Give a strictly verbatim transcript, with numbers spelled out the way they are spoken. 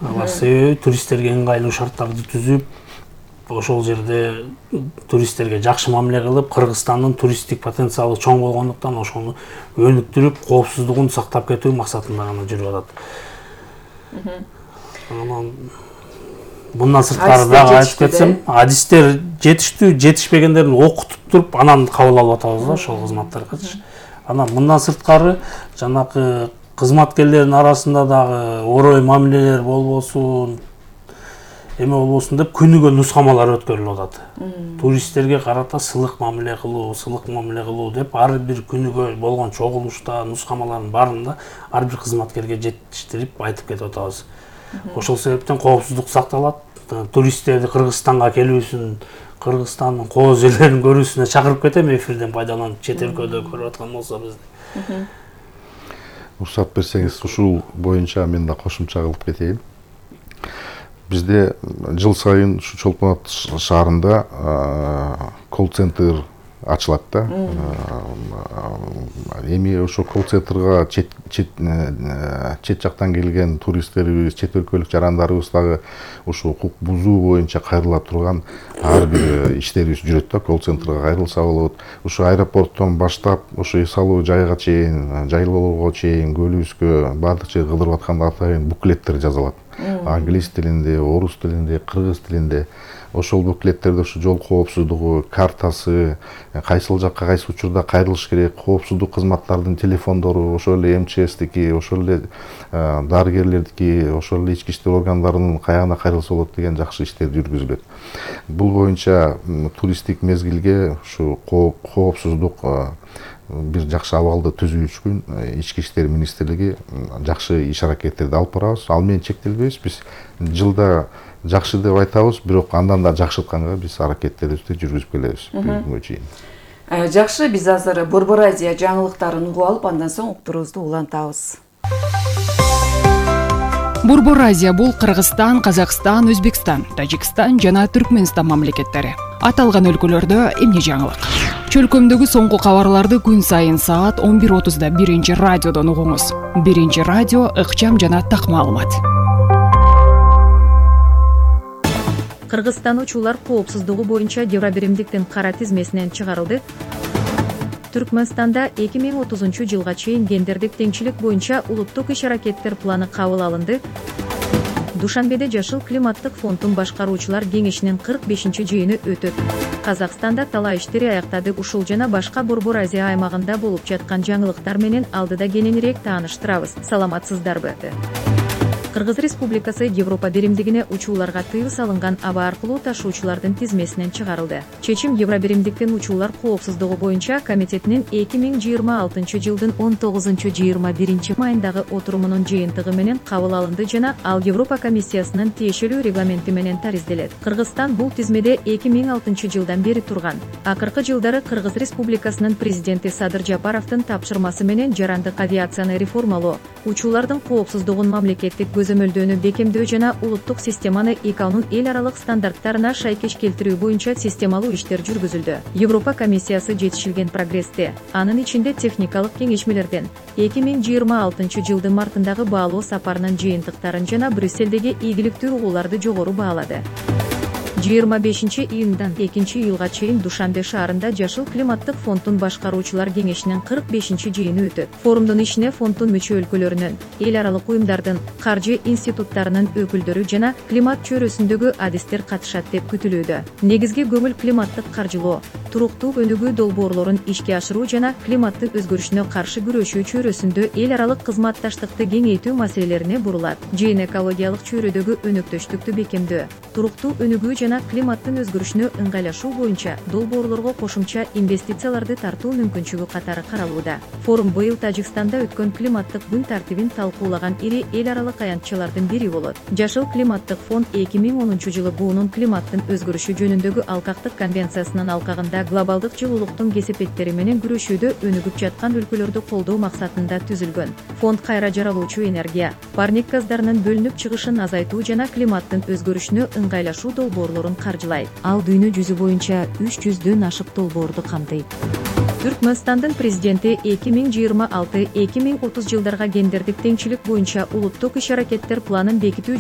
Алар себеби туристтерге ыңгайлуу шарттарды түзүп, ошол жерде туристтерге жакшы мамиле кылып, Кыргызстандын туристтик потенциалы чоң болгондуктан ошону өнүктүрүп, коопсуздугун сактап кетүү максатында гана жүрүп атат. Анан мындан сырткары дагы айтып кетсем, адистер жетиштүү, жетишпегендерин окутуп туруп, анан кабыл алып атабыз да ошол кызматтарга. Анан мындан сырткары жанакы кызматкерлердин арасында дагы орой мамилелер болбосун, эме болбосун деп күнүгө нускамалар өткөрүлүп атат. Туристтерге карата сылык мамиле кылуу, сылык мамиле кылуу деп ар бир күнүгө болгон чогулушта, нускамалардын баарында ар бир кызматкерге жетиштирип айтып кетип атабыз. Ошол себептен коопсуздук сакталат. Туристтерди Кыргызстанга келүүсүн, Кыргызстандын кооз жерлерин көрүүсүнө чакырып кетем эфирден пайдаланып, чет өлкөдө көрүп аткан болсо бизди. Уруксат берсеңиз, ушул боюнча мен да кошумча кылып кетейин. Бизде жыл сайын ушу Чолпон Ата шаарында колл-центр ачылат да. Эми ошо колл-центрга чет чет чет жактан келген туристтерибиз, чет өлкөлүк жарандарыбыз дагы ушу укук бузуу боюнча кайрыла турган ар бир иштерибиз жүрөт да, колл-центрга кайрылса болот. Ушу аэропорттон баштап, ушу эс алуу жайга чейин, жайлоого чейин, көлүбүзгө баардык жерге кыдырып атканда атайын буклеттер жазылат. Англис тилинде, орус тилинде, кыргыз тилинде. Ошол буклеттерде ушу жол коопсуздугу, картасы, кайсыл жакка кайсы учурда кайрылыш керек, коопсуздук кызматтардын телефондору, ошол эле эм че эстики, ошол эле дарыгерлердики, ошол эле ички иштер органдарынын каягына кайрылса болот деген жакшы иштер жүргүзүлөт. Бул боюнча туристтик мезгилге ушу коопсуздук бир жакшы абалды түзүү үчүн Ички иштер министрлиги жакшы иш аракеттерди алып барабыз. Ал менен чектелбейбиз. Биз жылда жакшы деп айтабыз, бирок андан да жакшыртканга биз аракеттерибизди жүргүзүп келебиз бүгүнкү чейин. Жакшы, биз азыр Борбор Азия жаңылыктарын угуп алып, андан соң уктуруубузду улантабыз. Борбор Азия бул Кыргызстан, Казакстан, Өзбекстан, Тажикстан жана Түркмөнстан мамлекеттери. Аталган өлкөлөрдө эмне жаңылык? Чөлкөмдөгү соңку кабарларды күн сайын саат он бир отузда биринчи радиодон угуңуз. Биринчи радио ыкчам жана так маалымат. Кыргызстан учуулар коопсуздугу боюнча Евробиримдиктин кара тизмесинен чыгарылды. Түркмөнстанда эки миң отузунчу жылга чейин гендердик теңчилик боюнча улуттук иш-аракеттер планы кабыл алынды. Душанбеде Жашыл климаттык фонддун башкаруучулар кеңешинин кырк бешинчи жыйыны өтөт. Казакстанда талаа иштери аяктады. Ушул жана башка Борбор Азия аймагында болуп жаткан жаңылыктар менен алдыда кененирээк тааныштырабыз. Саламатсыздарбы? Кыргыз Республикасы Европа биримдигине учууларга тыюу салынган аба аркылуу ташуучулардын тизмесинен чыгарылды. Чечим Евробиримдиктин учуулар коопсуздугу боюнча комитетинин эки миң жыйырма алтынчы жылдын он тогузунчу жыйырма биринчи майындагы отурумунун жыйынтыгы менен кабыл алынды жана ал Европа комиссиясынын тиешелүү регламенти менен таризделет. Кыргызстан бул тизмеде эки миң алтынчы жылдан бери турган. Акыркы жылдары Кыргыз Республикасынын президенти Садыр Жапаровдун тапшырмасы менен жарандык авиацияны реформалоо, учуулардын коопсуздугун мамлекеттик көзөмөлдөөнү бекемдөө жана улуттук системаны ИКАОнун эл аралык стандарттарына шайкеш келтирүү боюнча системалуу иштер жүргүзүлдү. Европа комиссиясы жетишилген прогрессти, анын ичинде техникалык кеңешмелерден эки миң жыйырма алтынчы жылдын мартындагы баалоо сапарынын жыйынтыктарын жана Брюссельдеги ийгиликтүү угууларды жогору баалады. жыйырма бешинчи июндан экинчи июлга чейин Душанбе шаарында Жашыл климаттык фонддун башкаруучулар кеңешинин кырк бешинчи жыйыны өтөт. Форумдун ишине фонддун мүчө өлкөлөрүнүн, эл аралык уюмдардын, каржы институттарынын өкүлдөрү жана климат чөйрөсүндөгү адистер катышат деп күтүлүүдө. Негизги көңүл климаттык каржылоо, туруктуу өнүгүү долбоорлорун ишке ашыруу жана климаттын өзгөрүшүнө каршы күрөшүү чөйрөсүндө эл аралык кызматташтыкты кеңейтүү маселелерине бурулат. Жыйын экологиялык чөйрөдөгү өнөктөштүктү бекемдөө, туруктуу өнүгүү жана климаттын өзгөрүшүнө ыңгайлашуу боюнча долбоорлорго кошумча инвестицияларды тартуу мүмкүнчүлүгү катары каралууда. Форум быйыл Тажикстанда өткөн климаттык күн тартибин талкуулаган ири эл аралык аянтчалардын бири болот. Жашыл климаттык фонд эки миң онунчу жылы буунун климаттын өзгөрүшү жөнүндөгү алкактык конвенциясынын алкагында глобалдык жылуулуктун кесепеттери менен күрөшүүдө өнүгүп жаткан өлкөлөрдү колдоо максатында түзүлгөн. Фонд кайра жаралуучу энергия, парник газдарынын бөлүнүп чыгышын азайтуу жана климаттын өзгөрүшүнө ыңгайлашуу долбоорлорун каржылайт. Ал дүйнө жүзү боюнча үч жүздөн ашык долбоорду камтыйт. Түркмөнстандын президенти эки миң жыйырма алты эки миң отуз жылдарга гендердик теңчилик боюнча улуттук иш-аракеттер планын бекитүү